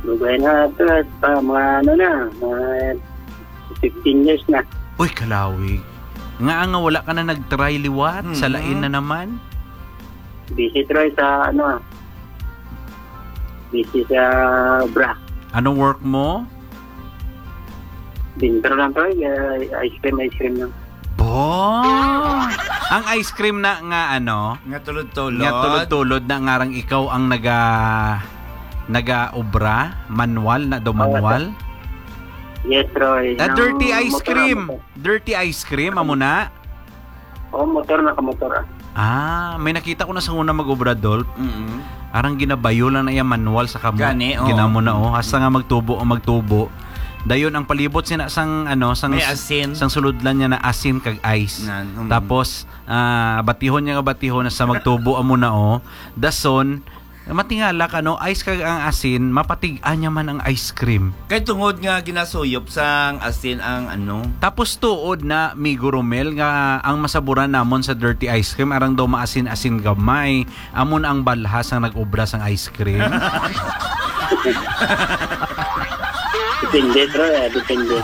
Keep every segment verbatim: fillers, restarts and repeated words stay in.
Dugay na to, pa, mga ano na, mga fifteen years na. Uy, kalawig. Nga nga wala ka na nag-try liwat, sa Mm-hmm. lain na naman? Busy, Troy, sa ano, busy sa bra. Anong work mo? Bintro lang, Troy. Ah, ice cream, ice cream lang. Bo! Ang ice cream na nga ano? Nga tulod-tulod. Nga tulod-tulod na ngarang ikaw ang naga-, naga-obra? Manual na do, Oo, manual? Yes, Troy. Ah, Nang dirty ice motor, cream. motor. Dirty ice cream, amo na? Oo, motor, nakamotor, ah. Ah, may nakita ko na sa una mag-obra, Dolph. Mm-mm. Arang ginabayo lang na iya manual sa kamot. Gani, oo. Ginamo na, oh. Hasta nga magtubo o magtubo. Dayon ang palibot sina sang, ano, sang May s-, asin. sang sulodlan niya na asin kag ice. Nan, mm. Tapos, ah, batihon niya nga batihon hasta magtubo amo na, oh. Dason, matingala ka, no? Ice kag ang asin, mapatig-a niya man ang ice cream. Kay tungod nga ginasuyop sang asin ang ano. Tapos tuod na, Migo Romel, nga ang masaburan namon sa dirty ice cream, arang daw maasin-asin gamay. Amon ang balha sang nag-obra sang ice cream. Depende, bro, eh. Depende.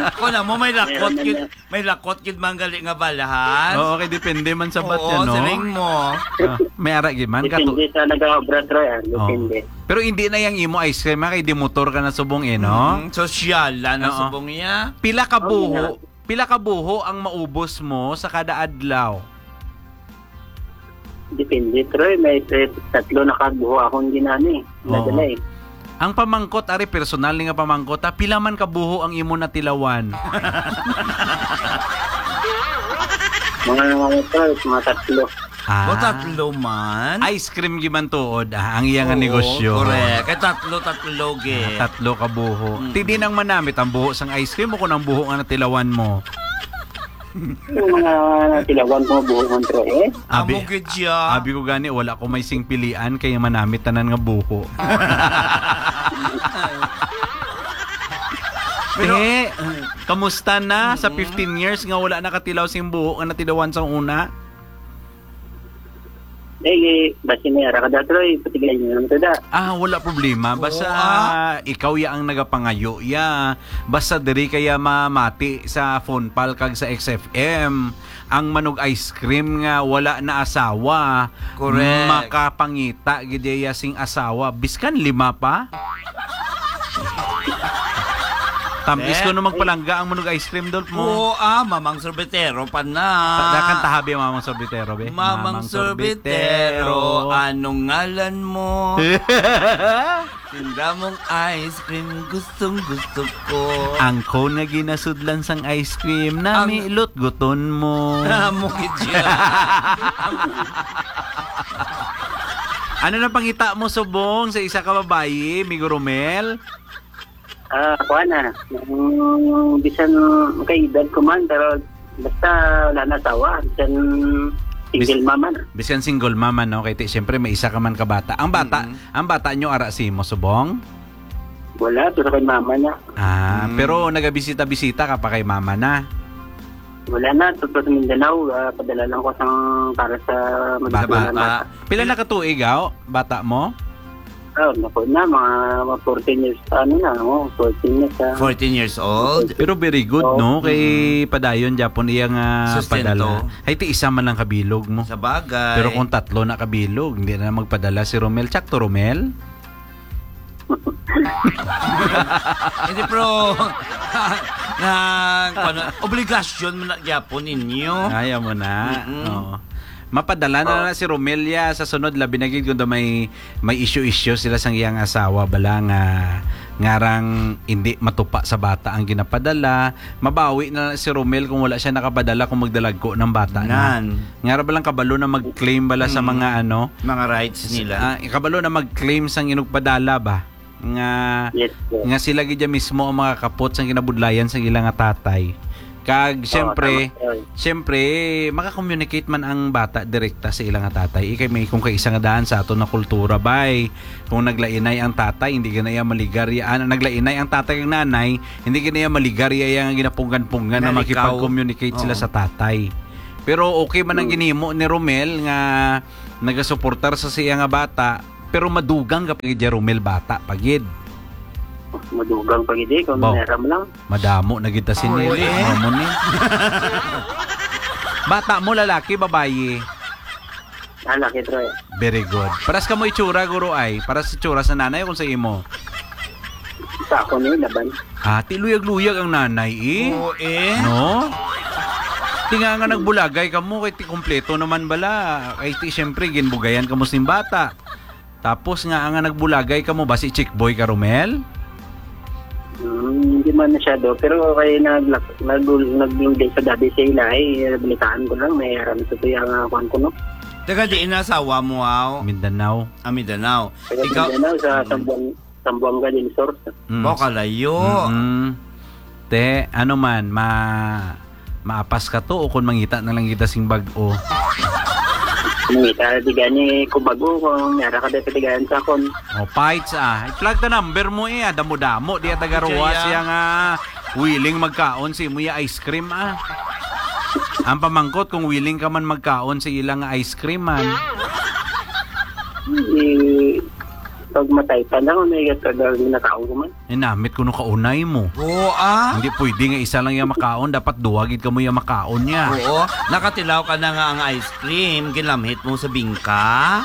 Ako na mo, may lakot, Meron na gid, may lakot gid man gali nga balhan. Oo, kay depende man sa bat Oo, yan, no? siling mo. Ah, may ara gid man, kato- Depende sa nag-obra, bro, eh. Oo. Depende. Pero hindi na yang imo ice cream, ha, kay di motor ka na subong, eh, no? Mm, sosyal na Oo. subong iya. Pila ka Oo, buho, nga. pila ka buho ang maubos mo sa kada adlaw? Depende, Troy. May, eh, tatlo na ka buho akong ginani. Oo. Nadala, eh. Ang pamangkot, ari, personal ni nga pamangkot, ha? Pila man ka buho ang imo natilawan? Mga, mga, Troy, mga tatlo. Ah. O, tatlo man? Ice cream giman tuod, ah, ang iya nga Oo, negosyo. correct. Kay tatlo, tatlo, ge. Ah, tatlo ka buho. Mm. Ti di nang manamit ang buho sang ice cream o kung ang buho nga natilawan mo? Yung mga tilawan ko, buho man, Troy, eh. Abi, Amo gid siya. abi ko gani, wala ko may singpilian, kay manamit tanan nga buho. Pero Eh, kamusta na sa Mm. fifteen years nga wala nakatilaw sing buho nga natilawan sa una? Eh, eh, basi may ara ka da, Troy, patigay niyo lang to da. Ah, wala problema. Basta Oo, ah. ikaw ya ang nagapangayo ya. Basta diri kaya mamati sa phone pal kag sa X F M. Ang manug ice cream nga wala na asawa, Correct. makapangita gid iya sing asawa. Biskan lima pa. Tamis Eh? ko no magpalangga ang manug ice cream, Dolph, mo. Oo, ah, Mamang Sorbetero pa na. Ta-, dakan tahabi, Mamang Sorbetero, be. Mamang Mamang Sorbetero, Sorbetero. anong ngalan mo? Tinda mong ice cream, gustong gusto ko. Ang cone nga ginasudlan sang ice cream, Ang nami lutguton mo. Amo gid siya. Ano na pangita mo subong sa isa ka babayi, Migo Romel? Ah, kuha na. Mm, bisan kay edad ko man, pero basta wala na asawa, bisan single Bis-, mama na. Bisan single mama, no? Kay ti, siyempre, may isa ka man ka bata. Ang bata, Mm-mm. ang bata nyo, ara si mo, subong? Wala, to sa kay mama na. Ah, Mm. pero nagabisita-bisita ka pa kay mama na? Wala na, to, to sa Mindanao, ah, padala lang ko sang para sa Sa magustuhan bata. bata. Pila na ka tuig, aw, bata mo? Oh, naku na, mga, mga fourteen years, ano na, oh, fourteen years, ah. Fourteen years old? Pero very good, Oh. no? Kay Mm. padayon, Japon, iya nga Sustento. padala. Ay, ti isa man lang kabilog mo. Sa bagay. Pero kung tatlo na kabilog, hindi na magpadala si Romel. Tsakto, Romel? Hindi, pero, na, ano, obligasyon mo na gyapon ninyo. Ayaw mo na. Mm-mm. Oo. Mapadala na Oh. na si Romelia sa sunod, labi na gid kung daw may, may issue-issue sila sang iyang asawa, bala nga ngarang hindi matupa sa bata ang ginapadala. Mabawi na lang si Romel kung wala siya nakapadala, kung magdalagko ng bata na. Nan. Ngara ba lang kabalo na mag-claim bala sa Mm. mga ano? Mga rights S-, nila. ah, kabalo na mag-claim sang inugpadala ba? Nga, Yes, sir. nga sila gid ya mismo ang makakapot sang kinabudlayan sang ila nga tatay. Kag, Oo, siyempre, tama, sir. siyempre, maka-communicate man ang bata direkta sa ila nga tatay. Ikay may kung kaisa nga daan sa aton na kultura, bay. Kung naglainay ang tatay, hindi ka na iya maligarya. Ah, naglainay ang tatay kag nanay, hindi ka na iya maligarya iya nga ginapunggan-punggan na Nalikaw. makipag-communicate sila Oo. sa tatay. Pero okay man ang Hmm. ginhimo ni Romel nga nagasuportar sa siya nga bata, Pero madugang ka pa gid, Romel, bata pa gid. Madugang pa gid, eh, kung Baw. meram lang. Madamo na gid ta si Oo, Nelly, eh. Mamo ni. Bata mo, lalaki, babayi? Lalaki, Troy. Very good. Paras ka mo itsura, guro, ay? Paras itsura sa nanay o kung sa imo? Sa ako ni, laban. Ah, ti luyag-luyag ang nanay, eh. Oo, eh. No? Ti nga nga nagbulagay ka mo, kay ti kompleto naman bala. Kay ti, siyempre, ginbugayan ka mo sing bata. Tapos nga, nga nagbulagay ka mo ba si Chick Boy ka, Romel? Hmm, hindi man masyado, pero kay nag-, nag-, nag-, nag-, sa gabi sa ila, eh, balitaan ko lang, may aram sa tuya nga, kuwan ko, no? Taga diin na asawa mo, aw? Mindanao. Ah, Mindanao. Taga Ikaw Mindanao, sa Mm. Sambuang-, Sambuanga del Sur. Mm. Wow, kalayo. Mm-mm. Te, ano man, ma-, maapas ka to o kung mangita na lang kita sing bag-o? Mangita na di gani ko bag-o, kung yara ka dahil katigayan sa akon. O, fights, ah. I-plug ta number mo, eh, ah. Damo-damo, di ata garuwa Kaya siya nga willing magkaon si mo ya ice cream, ah. Ang pamangkot kung willing ka man magkaon sa ilang ice cream, man. Eh, pag matay pa na, may tagal na tao ko man. Eh, namit ko no kaunay mo. Oo, ah. Hindi pwede nga isa lang yung makaon, dapat duwa gid kamo yung makaon niya. Oo. Nakatilaw ka na nga ang ice cream, ginlamhit mo sa bingka?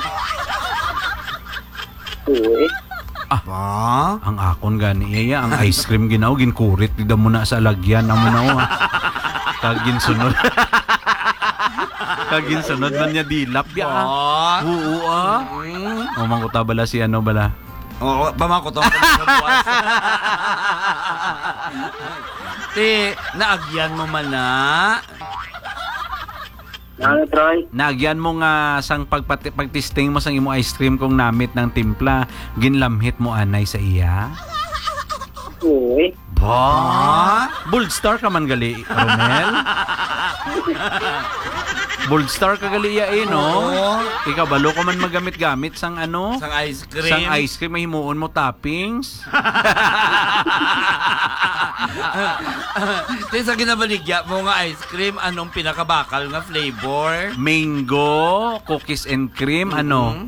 Oo, eh. Ah. Ba? Ang akon gani iya, ang ice cream ginaw, ginkurit gid mo na sa alagyan, amo na, oh, ah. Kag ginsunod. Kag ginsunod man niya dilap, ya, ah. Ba? Oo, ah. Mm. O, mangkuta bala si ano bala? Oo, pamangkot ang sa buwas. Ti, naagyan mo man na. Ano, Troy? Naagyan mo nga sang pagpati-, pagtisting mo sang imo ice cream kung namit ng timpla, ginlamhit mo anay sa iya? Oo, eh. Ba? Bold star ka man gali, Romel? Bold star ka gali, ya, eh, no? Oo. Ikabalo ka man magamit-gamit sang ano? Sang ice cream. Sang ice cream, mahimuon mo toppings. Ti, sa ginabaligya mo nga ice cream, anong pinakabakal nga flavor? Mango, cookies and cream, ano? Mm-hmm.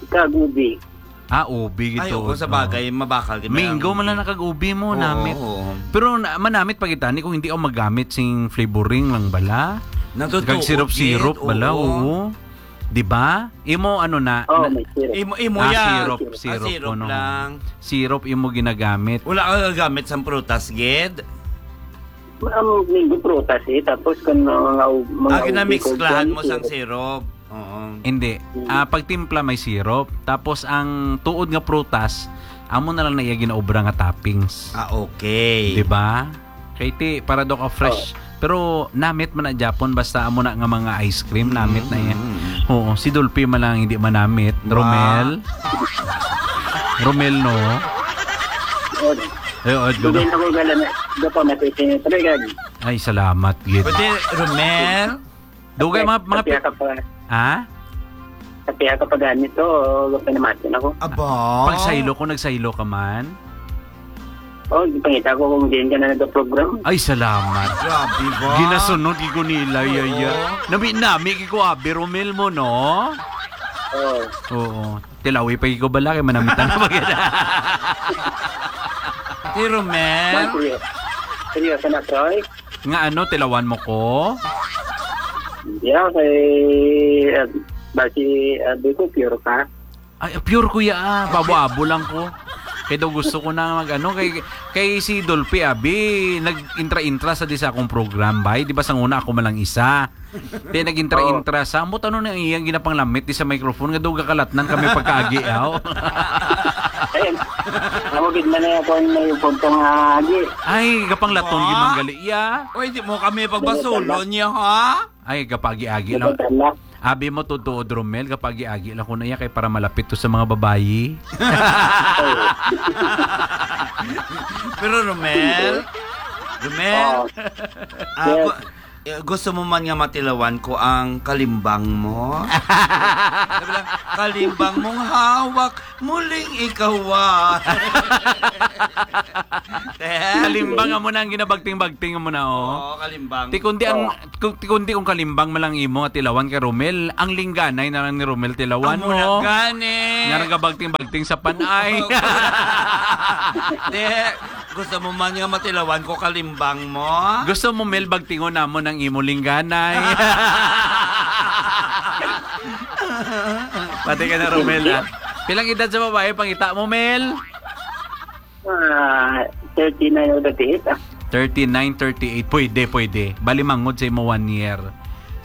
Kag ubi. Ah, ubi Ay, gito, oo, sa no? bagay, mabakal gid Mango ang man lang ubi. nakag-ubi mo, Oo, namit. oo. Pero na-, manamit pa kita ni kung hindi ako magamit sing flavoring lang bala. Natutuo Kag syrup-syrup gid, bala, oo. oo. Di ba? Imo, ano na, Oh, na may syrup. Imo, imo Ah, ya. syrup, Ah, syrup syrup ko, no? lang. Syrup imo ginagamit. Wala ka gagamit sang prutas, gid? Ang mango prutas, eh. Tapos kung mga, mga Ah, ubi, ginamixklahan kung mo sang syrup. syrup. Oo. Hindi. Mm. Ah, pag timpla may syrup. Tapos ang tuod nga prutas, amo na lang na iya ginaobra nga toppings. Ah, okay. Di ba? Kay ti, para daw ka fresh. Oh. Pero namit man na Japon, basta amo na nga mga ice cream, namit na yan. Mm, mm, mm. Oo, si Dolphy man lang hindi manamit. Ba? Romel? Romel, no? Yun. Ay, oh, Hindi gulo. na ko gala na. Doon pa, matitin yung talaga. Ay, salamat, gid. Pwede, Romel? Dugay, mga, mga Kapiha pi-, ka pa. Ha? Kapiha ka pa ganit to, o, pinamati na ko. Aba. Pag saylo ko, nagsaylo ka man? Oh, ipangita ko kung diin ka na nagka-program. Ay, salamat. Grabe ba? Ginasunod, di ko nila, Oo. yaya. Nami-, nami, ko, abi, Romel mo, no? Oo. Oo. Tilawi pa ko bala, kay manamitan na ba kita? Ate Romel? Seryo-, seryoso na, Troy? Nga ano, tilawan mo ko? Yeah, kay, uh, basi, uh, di ko pure ka. Ay, pure ko ya, ah. Babo-abo lang ko. Kay daw gusto ko na mag-ano, kay, kay si Dolphy, abi, nag-intra-intra sa di sa akong program, bay. Di ba, sang una ako man lang isa. Di nag-intra-intra sa, ambot ano na iyang ginapanglamit di sa microphone, nga daw gakalatnan kami pagkaagi, aw. Ayun. Ako gid man na ako ang may punto nga agi. Ay, gapanglaton, Ba? gid man gali, iya. Oy, di mo kami pagbasulon niya, ha? Ay, gapagi-agi lang. Nagdadala. Abi mo, tutuod, Romel, gapagi-agi lang ko na iya kay para malapit to sa mga babayi. Pero, Romel, Romel, Oo. ah, Yes. ba-, Eh, gusto mo man nga matilawan ko ang kalimbang mo? Sabi lang, "Kalimbang mong hawak, muling ikaw, ah." Te? Kalimbang amo na ang ginabagting-bagting mo na, oh. Oo, kalimbang. Ti kundi ang, Oo. kung, ti kundi kung kalimbang man lang imo nga tilawan kay Romel, ang lingganay na lang ni Romel tilawan Amo na mo. gani. Nga nagabagting-bagting sa panay. Te, gusto mo man nga matilawan ko kalimbang mo? Gusto mo, Mel, bagtingon namon ang imo lingganay? Pati ka na, Romel, ah. Pilang edad sa babae, pangita mo, Mel? Ah, thirty-nine o thirty-eight, ah. Thirty-nine, thirty-eight. Pwede, pwede. Bali, mangod sa imo one year.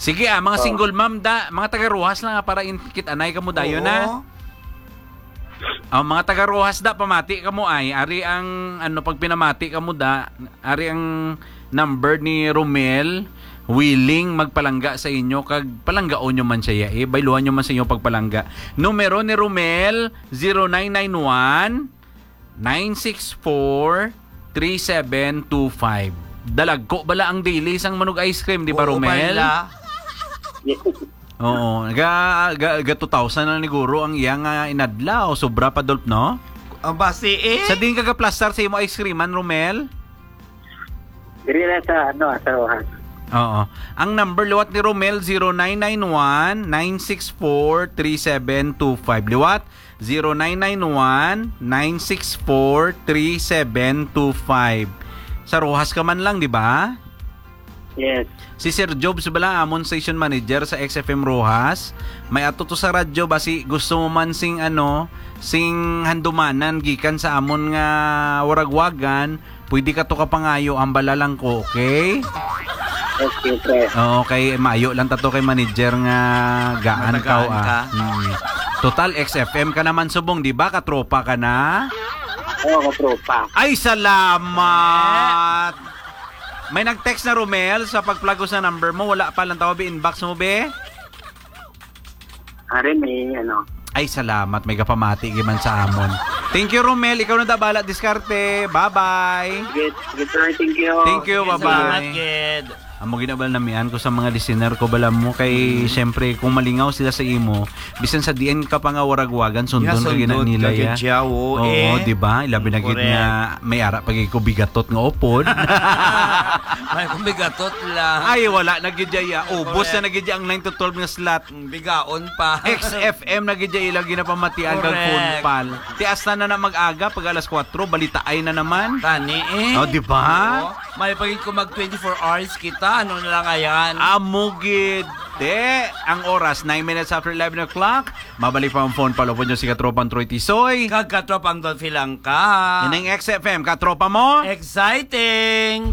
Sige, ah, mga Oh. single mom da, mga taga Roxas lang, ah, para in-, kit-anay ka mo dayon, Oo. ah. Ang mga taga Roxas da, pamati ka mo ay. Ari ang, ano, pag pinamati ka mo da, ari ang number ni Romel, willing magpalangga sa inyo, kag palanggaon nyo man siya, eh. Bayluhan nyo man sa inyo pagpalangga. Numero ni Romel, zero nine nine one, nine six four, three seven two five. Dalagko bala ang daily sang manug ice cream, di ba, Oo, Romel? bala. Yes. Oo, ga, ga, ga two thousand na niguro ang iya nga inadlaw. Sobra pa, Dolph, no? Ang basi, eh. Sa diin ka gaplastar sa imo ice cream man, Romel? Diri na sa, ano, sa Roxas. Oo. Ang number liwat ni Romel, zero nine nine one, nine six four, three seven two five. Liwat, zero nine nine one, nine six four, three seven two five. Sa Roxas ka man lang, di ba? Yes. Si Sir Jobs bala, amon station manager sa X F M Roxas. May ato to sa radyo, basi gusto mo man sing, ano, sing handumanan gikan sa amon nga waragwagan, pwede ka to kapangayo, hambala lang ko, okay? Okay, pre. Oo, kay maayo lang ta to kay manager nga gaan Matagaan ka, ah. ka. Mm. Total, X F M ka naman subong, di ba? Katropa ka na? Oo, katropa. Ay, salamat! May nag-text na, Romel, sa pagplagos na number mo. Wala pa lang tawag, inbox mo, be? Ari, may ano. Ay, salamat. May kapamati giman sa amon. Thank you, Romel. Ikaw na tabala, diskarte. Bye-bye. Sige, sige, sir. Thank you. Thank you. Sige, Bye-bye. salamat, Gid. Amo ginabal namian ko sa mga listener ko, bala mo, kay Mm. siyempre, kung malingaw sila sa imo, bisan sa diin ka pa nga waragwagan, sundon Yeah, ka gina sundon nila, ka ya. gid siya, oo, Oo, eh. di ba? Ilabi na gid Correct. nga may ara pa gid ko bigatot nga upod. May kung bigatot lang. Ay, wala na gid ya. Ubos Correct. na na gid ya ang nine to twelve nga slot. Mm, bigaon pa. X F M na gid ya ilang ginapamatian kag Correct. phone pal. Ti hasta na na mag-aga pag alas kuwatro, balitaay na naman. Tani, eh. Oh, di ba? Oo. May pa gid ko mag twenty-four hours kita. Ano na lang ayan? Amo gid. Te, ang oras, nine minutes after eleven o'clock. Mabalik pa ang phone pal, upod nyo si Katropang Troy Tisoy. Kag Katropang Dolphy lang ka. Ining X F M, katropa mo? Exciting!